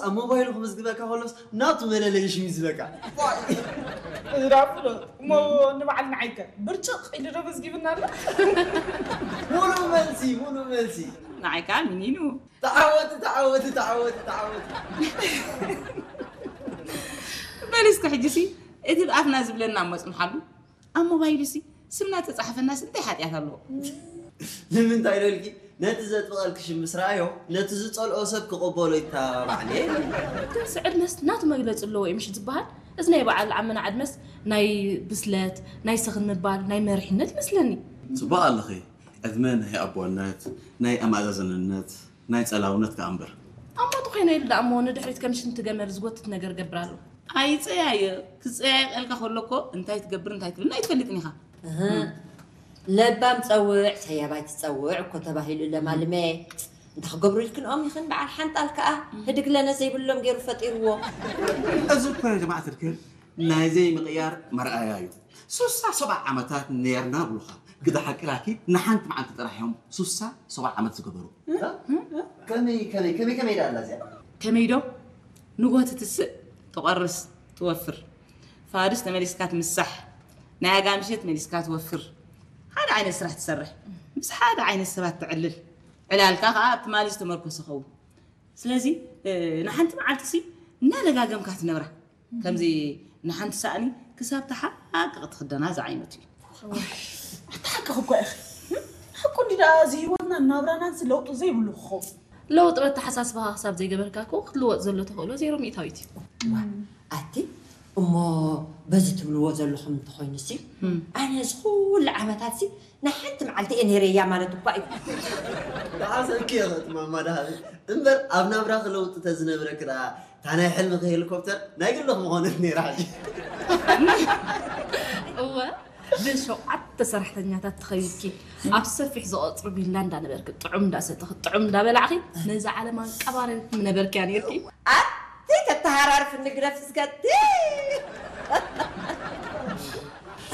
ኣብ ሞባይሉ ክምዝግበካ ከሎስ ናቱ መለለይ ሽም ይዝበካ። እዝራ ፍሎ እሞ ንበዓል ንዓይከ ብርጭቕ ኢሉ ዶ መዝጊብና ኣሎ? ሙሉእ መልሲ፣ ሙሉእ መልሲ። ንዓይካ ምኒኑ። ተዓወቲ፣ ተዓወቲ፣ ተዓወቲ፣ ተዓወቲ። በል እስከ ሕጂሲ እቲ ብኣፍና ዝብለና እሞ ጽንሓሉ። ኣብ ሞባይሉሲ ስምና ተጻሕፈናስ እንታይ ሓጢኣት ኣለዎ? ንምንታይ ኢሎልኪ? ነቲ ዘጥብቐልኪ ሽም ምስ ረኣዮ፣ ነቲ ዝጸልኦ ሰብ ክቕበሎ ይተባባዕ ነይሩ። ክንስ ዕድመስ ናቱ መግለፂ ኣለዎ እዩ ምሽ ዝበሃል። እዚ ናይ በዓል ዓመና ዕድመስ ናይ ብስለት፣ ናይ ስኽን ምባል፣ ናይ መሪሕነት ይመስለኒ። ጽቡቕ ኣለኺ። ዕድመ ናይ ኣቦነት፣ ናይ ኣማዛዝንነት፣ ናይ ጸላውነት ከኣ እምበር። ኣማቱ ኮይነ ኢሉ ደኣ እሞ ንድሕሪት ከም ሽንቲ ገመል ዝጎትት ነገር ገብር ኣሎ። ኣይጸያየ። ክጸያየቐልካ ከሎ እኮ እንታይ ትገብር እንታይ ትብልና ኣይትፈልጥን ኢኻ። እህ፣ ለባም ጸውዕ ሰያባይ ትጸውዕ እኮ ተባሂሉ ለማልመ። እንተ ክገብሩ ኢልክንኦም ይኽን በዓል ሓንጣል ከኣ ህድግ ለነ ዘይብሎም ገይሩ ፈጢርዎ። እዚ እኮ ጀማዓ ትርክብ ናይ ዘይምቕያር መርኣያ እዩ። ሱሳ ሰብዓ ዓመታት ነርና ብሉኻ። ግዳ ሓቂ ራኪ ንሓንቲ መዓልቲ ጥራሕ እዮም ሱሳ ሰብዓ ዓመት ዝገበሩ። ከመይ ከመይ ከመይ ከመይ ዳላ እዚኣ? ከመይ ዶ ንጎ ትትስእ ትቆርስ ትወፍር። ፋድስ ተመሊስካ ትምሳሕ ናይ ኣጋምሸት መሊስካ ትወፍር። ሓደ ዓይነት ስራሕ ትሰርሕ ምስ ሓደ ዓይነት ሰባት ትዕልል። ዕላልካ ከዓ ኣብ ትማሊ ዝተመርኮሰ ኸውን። ስለዚ ንሓንቲ መዓልቲ ሲ እናደጋገምካ ትነብራ ከምዚ ንሓንቲ ሳእኒ ክሳብ ተሓቅቕ ትኽደና ዝዓይነቱ እዩ። ኣታ ሓቅኺ እኮ ኢኺ። ሓቁ እንዲ ደኣ እዚ ህይወትናን ናብራናን ለውጢ ዘይብሉ ክኸውን። ለውጢ በተሓሳስባኻ ክሳብ ዘይገበርካ እኮ ክትልወጥ ዘሎ ተኽእሎ ዜሮ ሚእታዊት እዩ። ኣቲ እሞ በዚ ትብልዎ ዘለኹም እንተኾይኑሲ ኣነ እዚ ኩሉ ዓመታትሲ ንሓንቲ መዓልቲ እየ ነይረያ ማለት እኳ እዩ። ብሓሰብኪ ኢኺ እቲ ማማ ደሃቢ እምበር ኣብ ናብራኺ ለውጢ ተዝነብረኪ ደኣ እታ ናይ ሕልምኺ ሄሊኮፕተር ናይ ግልኺ ምኾነት ነይራ ሕጂ። እወ ብሸውዓተ ሰራሕተኛታት ተኸቢብኪ ኣብ ሰፊሕ ዝቐፅሩ ቪላ እንዳነበርኪ ጥዑም እንዳሰተኺ ጥዑም እንዳበላዕኺ ነዛ ዓለም ኣንቀባሪርኪ ምነበርክያ ነይርኪ። ኣቲ ተተሃራርፍ ንግረፍ እስከቲ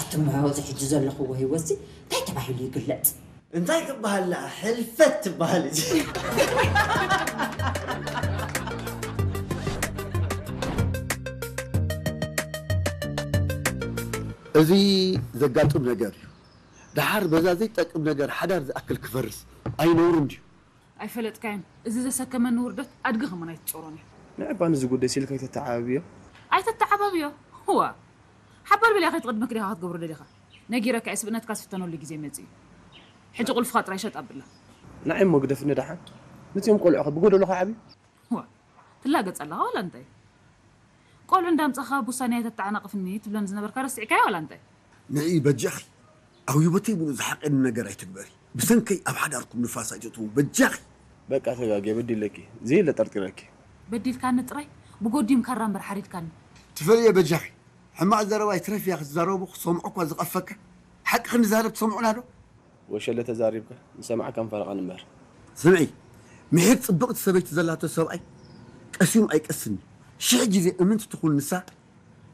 ኣቲ እሞ እዚ ሕጂ ዘለኽዎ ህይወትሲ እንታይ ተባሂሉ ይግለፅ? እንታይ ክበሃል ደኣ? ሕልፈት ትበሃል እዚ። እዚ ዘጋጥም ነገር እዩ። ደሓር በዛ ዘይጠቅም ነገር ሓዳር ዝኣክል ክፈርስ ኣይነውርን ድዩ? ኣይፈለጥካዮን። እዚ ዘሰከመኒ ውርደት ኣድጊ ከማን ኣይትጾሮን እያ። ንዕባ ንዚ ጉዳይ ሲልካ ኣይተተዓባብዮ። ኣይተተዓባብዮ? ህዋ። ሓባር በሊያ ከይትቕድመክ ዲኻ ክትገብሮ ደሊኻ? ነጊረካ እየ፣ ስብእነትካ ዝፍተነሉ ግዜ መጺኡ። ሕጂ ቁልፍኻ ጥራይ ሸጥ ኣብላ። ንዓይ እሞ ግደፍኒ ደሓን። ነቲኦም ቆልዑ ከ ብጎደሎ ከዓብዩ? ህዋ። ትላገጽ ኣለኻ ዋላ እንታይ? ቆልዑ እንዳምጻኻ ብውሳኔ ኣይተተዓናቕፍኒ ትብለኒ ዝነበርካ ረሲዕካዮ ዋላ እንታይ? ንዒ በጃኺ ኣብ ህይወተይ ምሉእ ዝሓቐኒ ነገር ኣይትግበሪ። ብሰንከይ ኣብ ሓዳርኩም ንፋስ ኣይተእትዉ በጃኺ። በቃ ተጋግየ በዲለኪ። ዘየለ ጠርጢረኪ። በዲልካኒ ጥራይ ብጎዲም ካራ እምበር ሓሪድካኒ። ትፈልየ በጃኺ ሕማቕ ዘረባ ይትረፍ እያ ክትዛረቡ ክሰምዖ እኳ ዝቐፈካ። ሓቂ ክንዛረብ ትሰምዑና ዶ? ወሸለ ተዛሪብካ ንሰማዕካን ፈረቓን እምበር። ስምዒ ምሒር ጽብቕቲ ሰበይቲ ዘላቶ ሰብኣይ ቀሲኑ ኣይቀስን እዩ። ሽሕ ግዜ እምንቲ ትኹን ንሳ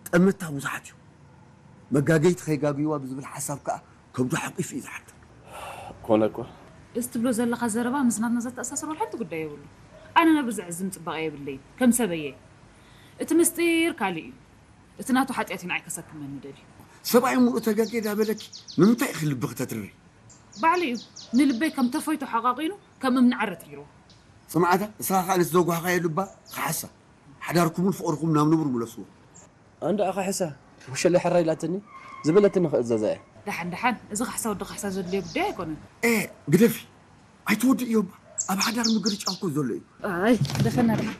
ጠመታ ብዙሓት እዩ። መጋገይቲ ከይጋግይዋ ብዝብል ሓሳብ ከኣ ከብዱ ሓቂፉ እዩ ዝሓድር። ኮነ እኮ። እዚ ትብሎ ዘለኻ ዘረባ ምስ ናትና ዘተኣሳስሮ ሓንቲ ጉዳይ የብሉ። ኣነ ነብሪ ዘዕዝም ጽባቐ የብለይን ከም ሰበየ። እቲ ምስጢር ካልእ እዩ። እቲ ናቱ ሓጢኣት እዩ ንዓይ ከሰክመኒ ደልዩ። ሰብኣይ ሙሉእ ተጋግየ ዳበለኪ ንምንታይ ኢኺ ልብኺ ተትርሪ? ባዕሉ እዩ ንልበይ ከም ተፎይቶ ሓቋቒኑ ከም እምኒ ዓረት ገይርዎ። ጽምዓታ እስኻ ከኣ ነቲ ዘጓህኻዮ ልባ ክሓሳ ሓዳርኩምን ፍቕርኹም ናብ ንቡር ምለስዎ። ኣንዳ ኣኻ ሕሳ ወሸለ ሕራይ ኢላትኒ ዝበለትኒ ክእዘዛ እየ። ደሓን ደሓን እዚ ካሕሳ ወዲ ካሕሳ ዘድልዮ ጉዳይ ኣይኮነን። ኤ ግደፊ ኣይትወድእዮ እባ ኣብ ሓዳር ምግርጫው እኮ ዘሎ እዩ። ኣይ ደፈና ደሓን።